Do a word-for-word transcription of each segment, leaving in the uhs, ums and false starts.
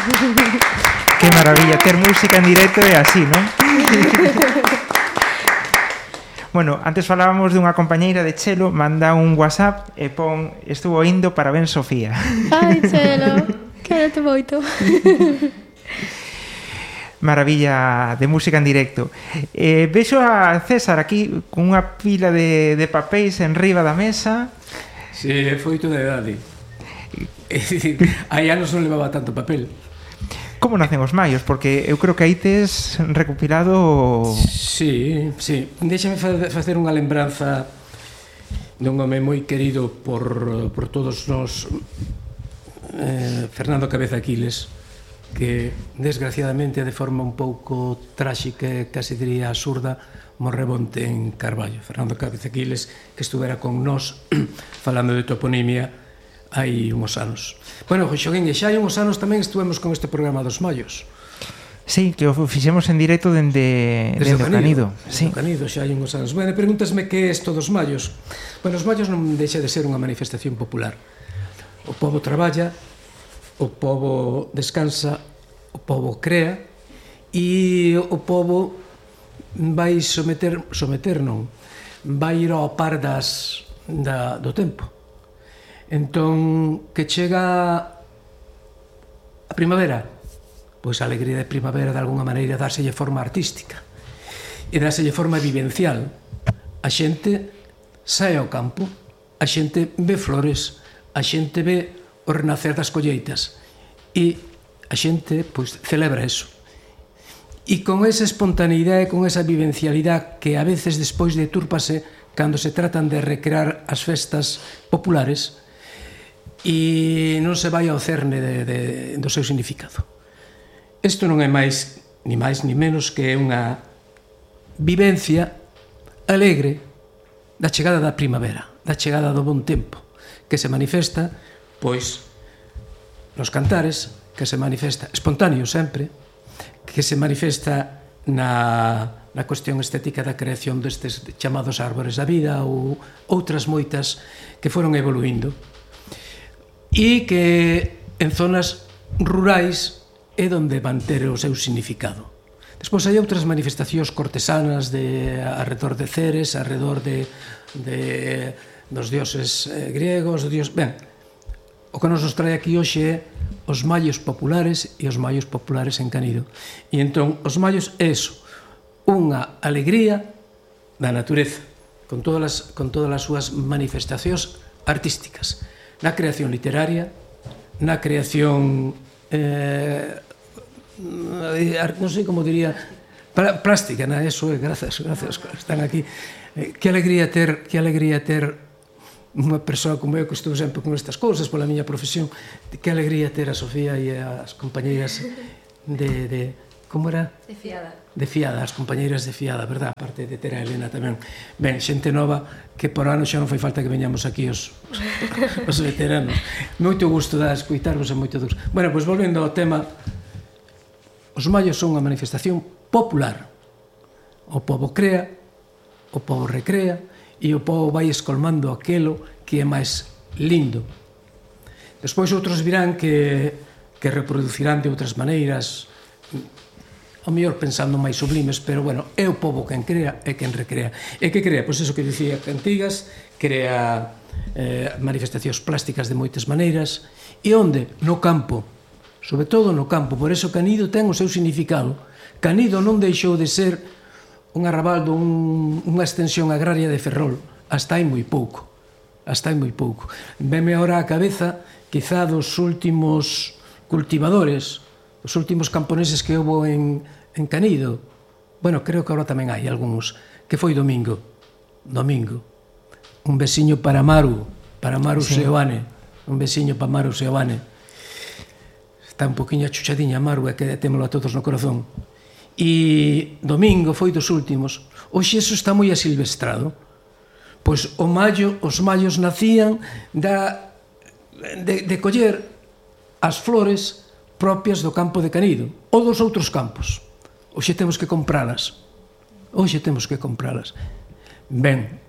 Que maravilla, ter música en directo é así, non? Bueno, antes falábamos dunha compañeira de Chelo, manda un WhatsApp e pon, estuvo indo, parabéns Sofía. Ai, Chelo, quédate moito. Maravilla de música en directo. Eh, vexo a César aquí con unha pila de, de papéis en riba da mesa. Si, sí, foi toda a idade. Hai anos non levaba tanto papel. Como nacen os maios? Porque eu creo que aí tes recopilado... Sí, sí. Déxame facer unha lembranza dun home moi querido por, por todos nós, eh, Fernando Cabeza Aquiles, que desgraciadamente de forma un pouco tráxica, casi diría absurda, morrebonte en Carballo. Fernando Cabeza Aquiles, que estuvera con nós falando de toponimia hai unhos anos. Bueno, Xoguín, e xa hai unhos anos tamén estuvemos con este programa dos Mallos. Sí, que o fixemos en directo dende, dende o Canido. Sí. O Canido, xa hai unhos anos. Bueno, pregúntasme que é isto dos Mallos. Bueno, os Mallos non deixa de ser unha manifestación popular. O pobo traballa, o pobo descansa, o pobo crea, e o pobo vai someter, someter non, vai ir ao par das, da, do tempo. Entón, que chega a primavera, pois a alegría de primavera de alguna maneira dárselle forma artística e dárselle forma vivencial. A xente sae ao campo, a xente ve flores, a xente ve o renacer das colleitas e a xente pois celebra eso. E con esa espontaneidade, con esa vivencialidade que a veces despois detúrpase cando se tratan de recrear as festas populares, e non se vai ao cerne de, de, do seu significado. Isto non é máis, ni máis ni menos que unha vivencia alegre da chegada da primavera, da chegada do bon tempo, que se manifesta, pois, nos cantares, que se manifesta espontáneo sempre, que se manifesta na, na cuestión estética da creación destes chamados árbores da vida ou outras moitas que foron evoluindo, e que en zonas rurais é onde van ter o seu significado. Despois hai outras manifestacións cortesanas de arredor de Ceres, arredor de, de dos dioses eh, griegos, dios... Ben, o que nos nos trae aquí hoxe é os mallos populares e os mallos populares en Canido. E entón, os mallos é eso, unha alegría da natureza, con todas as, con todas as súas manifestacións artísticas, na creación literaria, na creación eh, non sei como diría plástica, na eso é, grazas, grazas, están aquí. Eh, que alegría ter, que alegría ter unha persoa como eu que estou sempre con estas cousas pola miña profesión, que alegría ter a Sofía e as compañeiras de, de como era? De Fiada. De Fiada, as compañeiras de Fiada, verdad? Aparte de ter a Elena tamén. Ben, xente nova que por ano xa non fai falta que veñamos aquí os, os veteranos. Moito gusto da escoitarvos e moito gusto. Bueno, pois volvendo ao tema, os mallos son unha manifestación popular. O pobo crea, o pobo recrea e o pobo vai escolmando aquelo que é máis lindo. Despois outros virán que, que reproducirán de outras maneiras, ao mellor pensando máis sublimes, pero bueno, é o pobo quen crea e quen recrea. E que crea? Pois eso que dicía Cantigas, crea eh, manifestacións plásticas de moitas maneiras, e onde? No campo, sobre todo no campo. Por eso Canido ten o seu significado. Canido non deixou de ser un arrabaldo, un, unha extensión agraria de Ferrol, hasta hai moi pouco, hasta hai moi pouco. Veme ahora a cabeza, quizá dos últimos cultivadores, os últimos camponeses que houve en, en Canido. Bueno, creo que agora tamén hai algúns, que foi Domingo. Domingo. Un veciño para Maru, para Maru sí. Seoane. Un veciño para Maru Seoane. Está un poquinho achuchadiña Maru, e que témolo a todos no corazón. E Domingo foi dos últimos. Hoxe eso está moi asilvestrado. Pois o mallo, os mallos nacían da, de, de coller as flores propias do campo de Canido ou dos outros campos. Hoxe temos que compralas. Hoxe temos que compralas. Ben,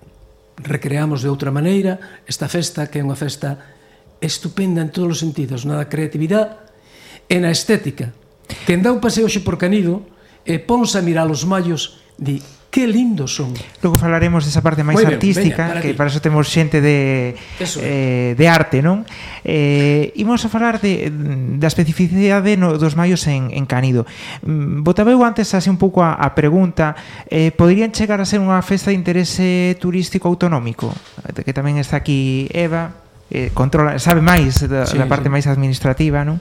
recreamos de outra maneira esta festa, que é unha festa estupenda en todos os sentidos, na da creatividade e na estética. Quen dá un paseo xe por Canido e ponse a mirar os mallos, di, que lindos son. Logo falaremos desa parte máis ben, artística, veña, para que ti. para eso temos xente de eh, de arte, non? Eh, imos a falar de, da especificidade no, dos mallos en, en Canido. Mm, Botaba eu antes así un pouco a, a pregunta, eh, poderían chegar a ser unha festa de interese turístico autonómico? Que tamén está aquí Eva, eh, controla, sabe máis da, sí, da parte sí. máis administrativa, non?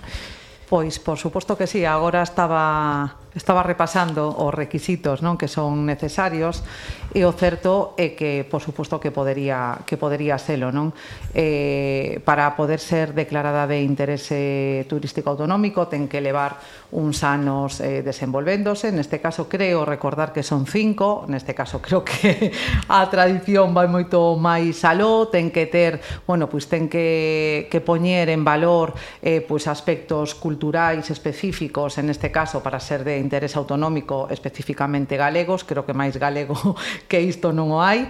Pois, por suposto que sí, agora estaba estaba repasando os requisitos, non, que son necesarios, e o certo é que, por suposto, que podería que podería selo, non? Eh, para poder ser declarada de interese turístico autonómico ten que levar uns anos eh, desenvolvéndose, neste caso creo recordar que son cinco, neste caso creo que a tradición vai moito máis aló, ten que ter, bueno, pois ten que, que poñer en valor eh, pois aspectos culturais específicos, en este caso para ser de interese autonómico especificamente galegos, creo que máis galego que isto non o hai.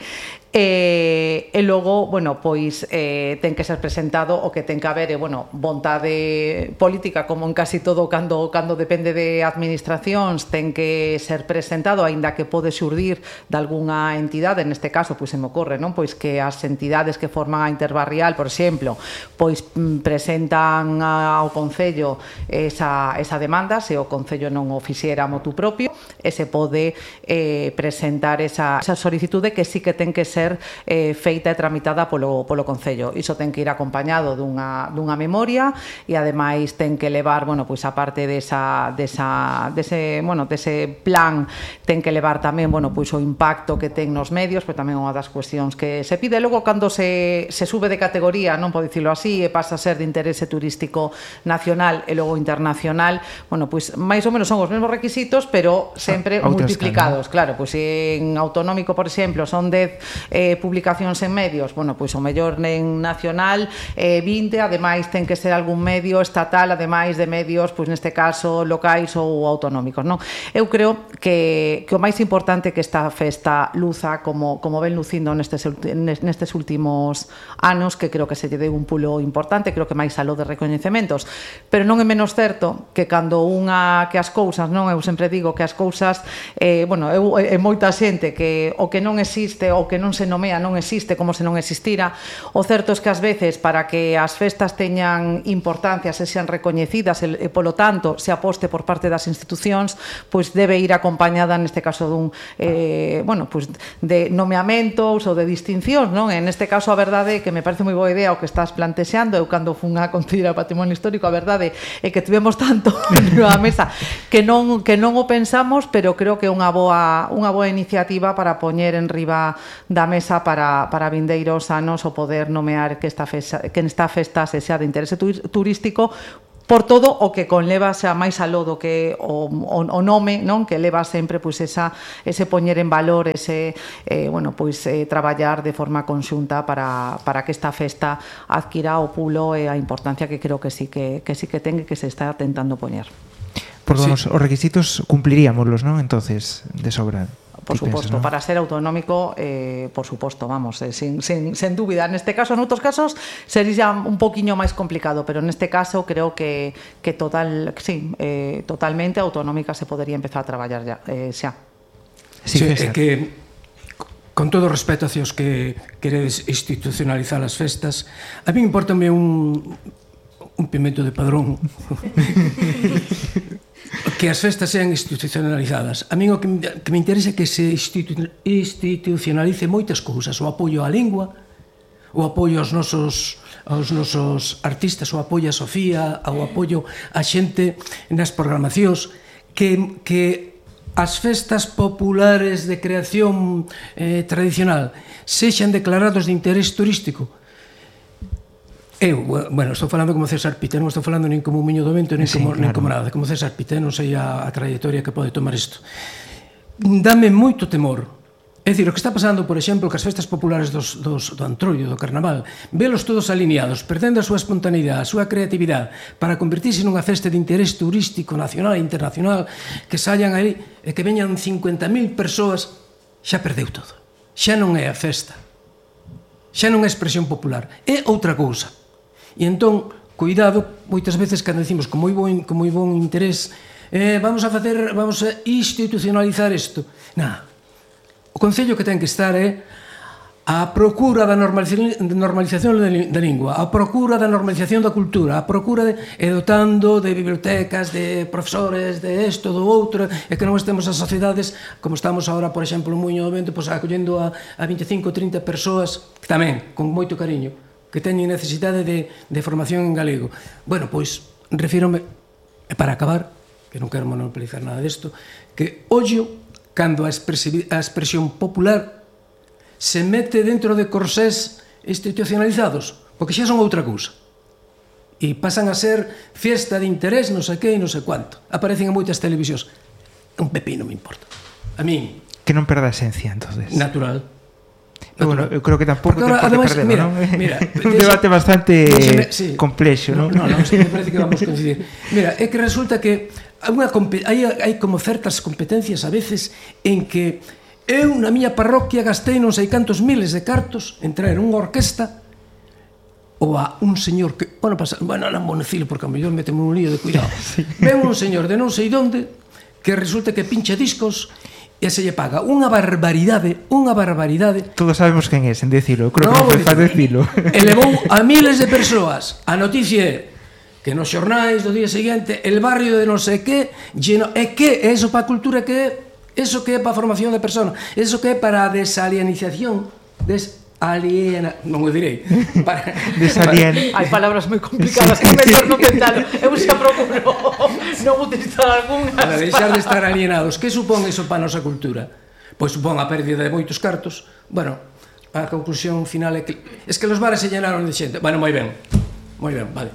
E, e logo, bueno, pois eh, ten que ser presentado o que ten que haber, e, bueno, vontade política, como en casi todo cando, cando depende de administracións, ten que ser presentado, aínda que pode xurdir de algunha entidade, neste caso, pois se me ocorre, non? Pois que as entidades que forman a Interbarrial, por exemplo, pois presentan ao Concello esa, esa demanda, se o Concello non o fixera motu propio, e se pode eh, presentar esa, esa solicitude que sí que ten que ser eh, feita e tramitada polo, polo Concello. Iso ten que ir acompañado dunha, dunha memoria e ademais ten que levar, bueno, pois a parte desa, desa, dese, bueno, dese plan, ten que levar tamén, bueno, pois o impacto que ten nos medios, pois tamén unha das cuestións que se pide. Logo, cando se, se sube de categoría, non podo dicirlo así, e pasa a ser de interese turístico nacional e logo internacional, bueno, pois máis ou menos son os mesmos requisitos, pero sempre a multiplicados. Escala, claro, pois en autonómico, por exemplo, son dez eh, publicacións en medios, bueno, pois o mellor en nacional eh, vinte, ademais ten que ser algún medio estatal, ademais de medios, pois neste caso locais ou autonómicos, non? Eu creo que, que o máis importante que esta festa luza, como, como ven lucindo nestes, nestes últimos anos, que creo que se lle deu un pulo importante, creo que máis aló de recoñecementos, pero non é menos certo que cando unha, que as cousas, non? Eu sempre digo que as cousas, eh, bueno, eu, é moita xente que o que non existe, o que non se nomea non existe como se non existira. O certo é que ás veces, para que as festas teñan importancia, se sean recoñecidas e, polo tanto, se aposte por parte das institucións, pois debe ir acompañada, neste caso, dun eh, bueno, pois de nomeamentos ou de distincións, non? En este caso, a verdade é que me parece moi boa idea o que estás plantexando. Eu, cando fun a Concelleira de Patrimonio Histórico, a verdade é que tivemos tanto na mesa que non, que non o pensamos, pero creo que é unha boa, unha boa iniciativa para poñer en riba da mesa para, para vindeiros anos o poder nomear que esta festa, que esta festa se sea de interese turístico, por todo o que conleva xa máis aló do que o, o, o nome, non? Que leva sempre pois esa ese poñer en valor, ese eh, bueno, pois eh, traballar de forma conxunta para, para que esta festa adquira o pulo e a importancia que creo que sí que, que sí que ten e que se está tentando poñer. Por sí. Os, os requisitos cumpliríamoslos, non? Entonces, de sobra. Por suposto, ¿no? Para ser autonómico, eh, por suposto, vamos, eh, sin, sin, sin dúbida. Neste caso, en outros casos, sería un poquinho máis complicado, pero neste caso creo que, que total, sí, eh, totalmente autonómica se podería empezar a traballar ya, eh, xa. Sí, é que, con todo respeto hacia os que queredes institucionalizar as festas, a mí importame un, un pimento de padrón que as festas sean institucionalizadas. A mí o que me, que me interesa é que se institu, institucionalice moitas cousas, o apoio á lingua, o apoio aos nosos, aos nosos artistas, o apoio a Sofía, o apoio a xente nas programacións, que, que as festas populares de creación eh, tradicional sexan declarados de interés turístico. Eu, bueno, estou falando como César Pita, non estou falando nin como un miño do vento, nin, sí, como, claro. nin como nada, como César Pita, non sei a, a trayectoria que pode tomar isto. Dame moito temor. É dicir, o que está pasando, por exemplo, que as festas populares dos, dos, do Antroido, do Carnaval, velos todos alineados, perdendo a súa espontaneidade, a súa creatividade, para convertirse nunha festa de interés turístico nacional e internacional, que saian aí e que veñan cincuenta mil persoas, xa perdeu todo. Xa non é a festa. Xa non é expresión popular. É outra cousa. E entón, cuidado, moitas veces cando decimos con moi bon, con moi bon interés, eh, vamos a facer, vamos a institucionalizar isto. Nah, o Concello que ten que estar é a procura da normalización da lingua, a procura da normalización da cultura, a procura de, e dotando de bibliotecas, de profesores, de isto, do outro, e que non estemos as sociedades, como estamos agora, por exemplo, en Muiño do Vento, pois, acollendo a, a veinticinco ou trinta persoas, que tamén, con moito cariño, que teñen necesidade de, de formación en galego. Bueno, pois, refírome, e para acabar, que non quero monopolizar nada disto, que ollo cando a, a expresión popular se mete dentro de corsés institucionalizados, porque xa son outra cousa. E pasan a ser fiesta de interés, non sei que e non sei cuánto. Aparecen en moitas televisións. Un pepino me importa. A mí... Que non perda a esencia, entonces. Natural. Bueno, eu creo que tampouco ahora, te pode perder, mira, non? Mira, un debate bastante me, sí. complexo, non? No, no, no, sí, me parece que vamos a coincidir. Mira, é que resulta que unha, hai, hai como certas competencias a veces en que eu na miña parroquia gastei non sei cantos miles de cartos en traer unha orquesta ou a un señor que, bueno, pasa, bueno, non vou decirlo porque a mellor meteme un lío de cuidado. Sí. Ven un señor de non sei onde que resulta que pincha discos e se lle paga unha barbaridade, unha barbaridade. Todos sabemos quen é, sen decirlo, creo no, que non faz decirlo. Elevou a miles de persoas. A noticia é que nos xornais do día seguinte el barrio de non sei que lleno, é que é eso para a cultura que é. Eso que é para a formación de persona, eso que é para a desalienización, desaliena, non o direi. Para, Desalien... Hai palabras moi complicadas que mellor non tentalo. Eu xa procuro non utilizar algunhas. Para deixar de estar alienados. Que supón eso para a nosa cultura? Pois supón a pérdida de moitos cartos. Bueno, a conclusión final é que es que los bares se llenaron de xente. Bueno, moi ben. Moi ben, vale.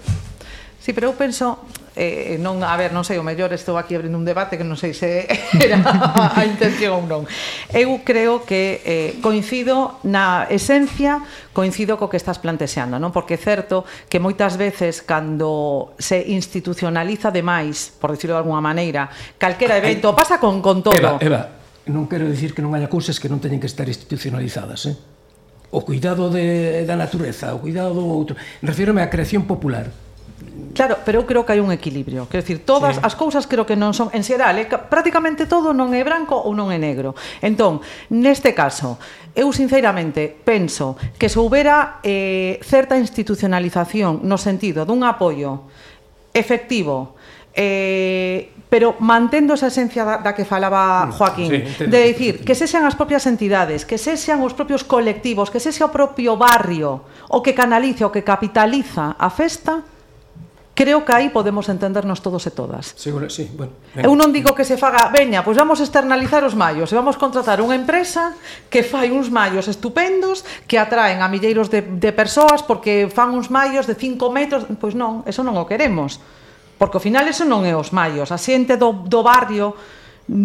Sí, pero eu penso, eh, non, a ver, non sei, o mellor estou aquí abrindo un debate que non sei se era a intención ou non. Eu creo que eh, coincido na esencia, coincido co que estás plantexando, non? Porque é certo que moitas veces cando se institucionaliza demais, por decirlo de alguna maneira, calquera evento, pasa con, con todo. Eva, Eva, non quero dicir que non haya cousas que non teñen que estar institucionalizadas, eh? O cuidado de, da natureza, o cuidado do outro. Refírome á creación popular. Claro, pero eu creo que hai un equilibrio. Quero dicir, todas sí. as cousas creo que non son, en xeral, eh, prácticamente todo non é branco ou non é negro. Entón, neste caso, eu sinceramente penso que se houbera eh, certa institucionalización no sentido dun apoio efectivo, eh, pero mantendo esa esencia da, da que falaba Joaquín, sí, de decir que sexan as propias entidades, que sexan os propios colectivos, que sexa o propio barrio o que canaliza, o que capitaliza a festa. Creo que aí podemos entendernos todos e todas. Seguro, sí, bueno. Venga. Eu non digo que se faga, veña, pois vamos externalizar os mallos e vamos contratar unha empresa que fai uns mallos estupendos que atraen a milleiros de, de persoas porque fan uns mallos de cinco metros. Pois non, eso non o queremos. Porque ao final eso non é os mallos. A xente do, do barrio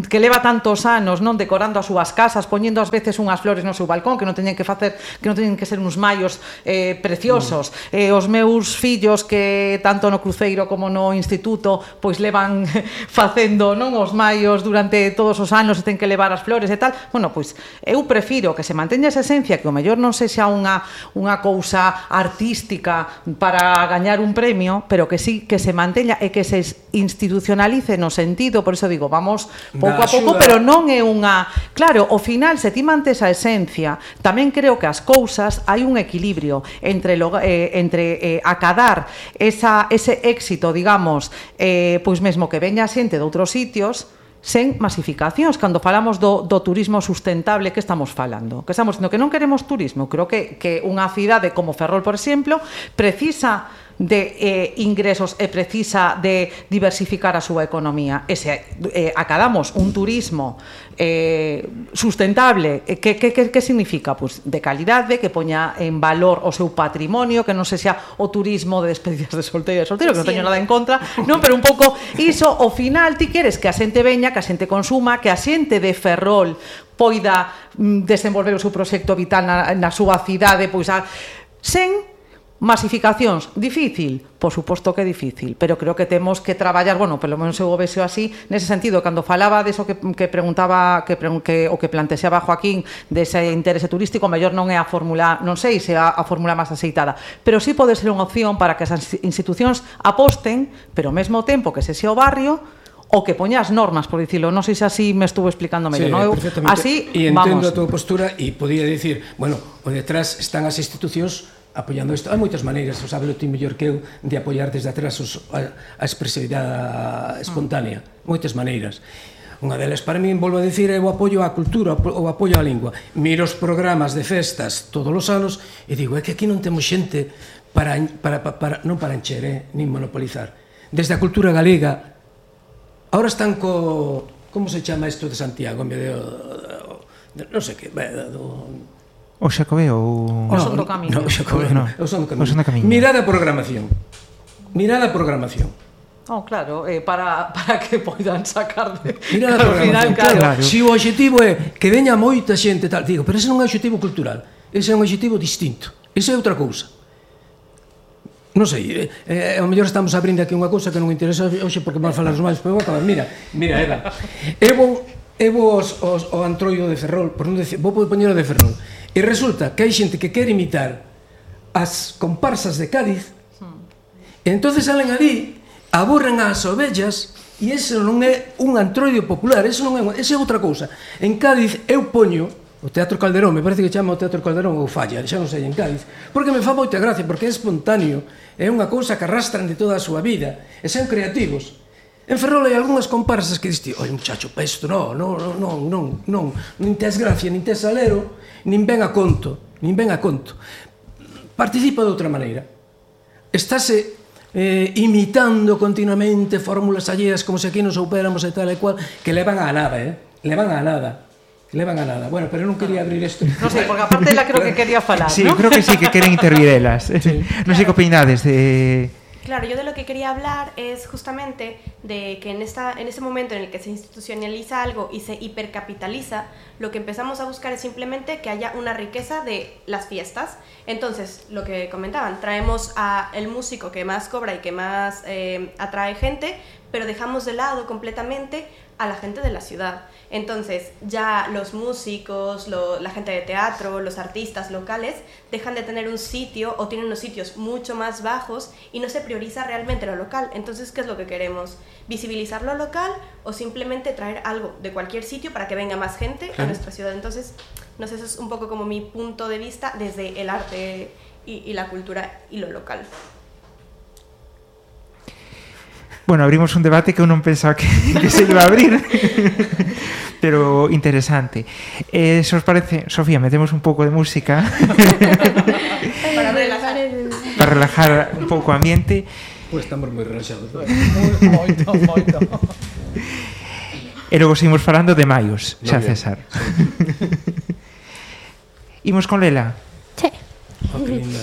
que leva tantos anos non decorando as súas casas, poñendo ás veces unhas flores no seu balcón que non teñen que facer, que non teñen que ser uns mallos eh, preciosos. Mm. Eh, os meus fillos que tanto no cruceiro como no instituto pois levan facendo non os mallos durante todos os anos e ten que levar as flores e tal. Bueno, pois eu prefiro que se manteña esa esencia, que o mellor non sexa unha unha cousa artística para gañar un premio, pero que sí que se manteña e que se institucionalice no sentido, por iso digo, vamos pouco a pouco, pero non é unha... Claro, ao final, se ti mantes a esencia, tamén creo que as cousas hai un equilibrio entre, lo, eh, entre eh, acadar esa, ese éxito, digamos, eh, pois mesmo que veña xente de outros sitios, sen masificacións. Cando falamos do, do turismo sustentable, que estamos falando? Que estamos dicindo que non queremos turismo. Creo que, que unha cidade como Ferrol, por exemplo, precisa de eh, ingresos e precisa de diversificar a súa economía. E se eh, acadamos un turismo eh, sustentable, eh, que, que, que, que significa? Pues de calidade, que poña en valor o seu patrimonio, que non se xa o turismo de despedidas de solteiro e solteiro, que non teño nada en contra, non, pero un pouco iso, ao final ti queres que a xente veña, que a xente consuma, que a xente de Ferrol poida mm, desenvolver o seu proxecto vital na, na súa cidade, pois a, sen Masificacións, difícil? Por suposto que é difícil, pero creo que temos que traballar, bueno, pelo menos eu o vexo así, nese sentido, cando falaba deso que, que preguntaba, que, que, o que plantexaba Joaquín, dese interese turístico, mellor non é a fórmula, non sei se é a, a fórmula máis aceitada, pero sí pode ser unha opción para que as institucións aposten, pero ao mesmo tempo que se xe o barrio, o que poña as normas, por dicilo. Non sei se así me estuvo explicando mellor, Sí, non? Eu, perfectamente. así, e entendo vamos. a tua postura e podía dicir, bueno, o detrás están as institucións apoiando isto. Hai moitas maneiras, o sabelo ti mellor que eu, de apoiar desde atrás os, a, a expresividade espontánea. Moitas maneiras. Unha delas, para mí, volvo a dicir, é o apoio á cultura, o apoio á lingua. Miro os programas de festas todos os anos e digo, é que aquí non temos xente para, para, para, para non para encher, eh, nin monopolizar. Desde a cultura galega, ahora están co... como se chama isto de Santiago, en vez de... de non sei que, do... O Xacobeo ou... O son do camiño. No, o Xacobeo, no. o son do camiño. O son do camiño. Mirada a programación. Mirada a programación. Oh, claro, eh, para, para que poidan sacar de... Mirada a Al final, programación. Claro, claro. se o obxectivo é que veña moita xente tal, digo, pero ese non é un obxectivo cultural, ese é un obxectivo distinto. Ese é outra cousa. Non sei, eh, ao mellor estamos abrindo aquí unha cousa que non me interesa hoxe porque vamos falar os máis, pero vou acabar. Mira, mira, Eva, eu vou, eu vou os, os, o antroido de Ferrol, por non decir, vou poñer o de Ferrol, e resulta que hai xente que quere imitar as comparsas de Cádiz, e entonces salen ali, aburren as ovellas, e ese non é un antroido popular, ese non é, ese é outra cousa. En Cádiz eu poño o Teatro Calderón, me parece que chama o Teatro Calderón ou Falla, xa non sei, en Cádiz, porque me fa moita gracia, porque é espontáneo, é unha cousa que arrastran de toda a súa vida, e son creativos. En Ferrol hai algunhas comparsas que diste, oi, muchacho, pa isto, non, non, non, non, non, nin tes gracia, nin tes salero, nin ven a conto, nin ven a conto. Participa de outra maneira. Estáse eh, imitando continuamente fórmulas alleas como se aquí nos soupéramos e tal e cual, que levan a nada, eh? Levan a nada. Levan a nada. Bueno, pero non quería abrir isto. Non sei, porque aparte ela creo que quería falar, Sí, ¿no? creo que sí, que queren intervir elas. Sí. Non sei que opinades de... Claro, yo de lo que quería hablar es justamente de que en, esta, en ese momento en el que se institucionaliza algo y se hipercapitaliza, lo que empezamos a buscar es simplemente que haya una riqueza de las fiestas. Entonces, lo que comentaban, traemos a el músico que más cobra y que más eh, atrae gente, pero dejamos de lado completamente a la gente de la ciudad. Entonces ya los músicos, lo, la gente de teatro, los artistas locales dejan de tener un sitio o tienen unos sitios mucho más bajos y no se prioriza realmente lo local. Entonces, ¿qué es lo que queremos? ¿Visibilizar lo local o simplemente traer algo de cualquier sitio para que venga más gente a nuestra ciudad? Entonces, no sé, eso es un poco como mi punto de vista desde el arte y, y la cultura y lo local. Bueno, abrimos un debate que eu non pensaba que, que se iba a abrir, pero interesante. Eh, se os parece, Sofía, metemos un pouco de música Para relajar. para relajar un pouco o ambiente. Pois estamos moi relaxados. Moito, moito. E logo seguimos falando de maios, xa bien. César. Imos con Lela. Sí. Oh, que linda.